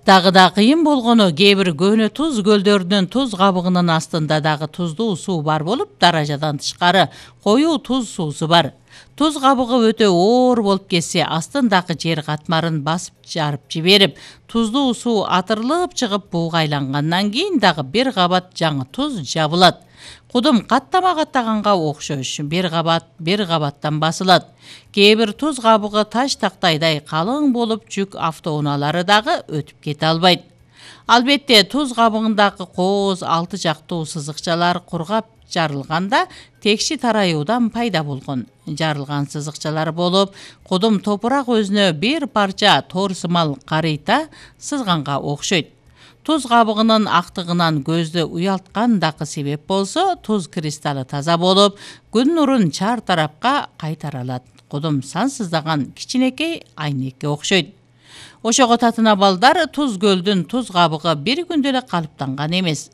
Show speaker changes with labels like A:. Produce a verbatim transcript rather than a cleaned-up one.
A: Дагы да кыйын болгону кээ бир көөнө туз көлдөрүнүн туз кабыгынын астында дагы туздуу суу бар болуп, даражадан тышкары коюу туз суусу бар. Туз кабыгы өтө оор болуп кетсе, астындагы жер катмарын басып жарып жиберип, туздуу суу атырылып чыгып буугайлангандан кийин дагы бир кабат жаңы туз жабылат. Кудум каттама каттаганга окшош, бир кабат бир кабаттан басылат. Кээ бир туз кабыгы таш тактайдай калың болуп, жүк автоунаалары дагы өтүп кете албайт. Албетте, туз кабыгындагы кооз алты жактуу сызыкчалар кургап жарылганда текши тараюудан пайда болгон. Жарылган сызыкчалар болуп, кудум топурак өзүнө бир парча тор сымал карыйта сызганга окшойт. Туз кабыгынын актыгынан көздү уялткан дагы себеп болсо, туз кристаллы таза болуп, күн нурун чар тарапка кайтара алат. Кудум сансыздаган кичинекей айнекке окшойт. Ошого татына балдар, туз көлдүн туз кабыгы бир күндө эле калыптанган эмес.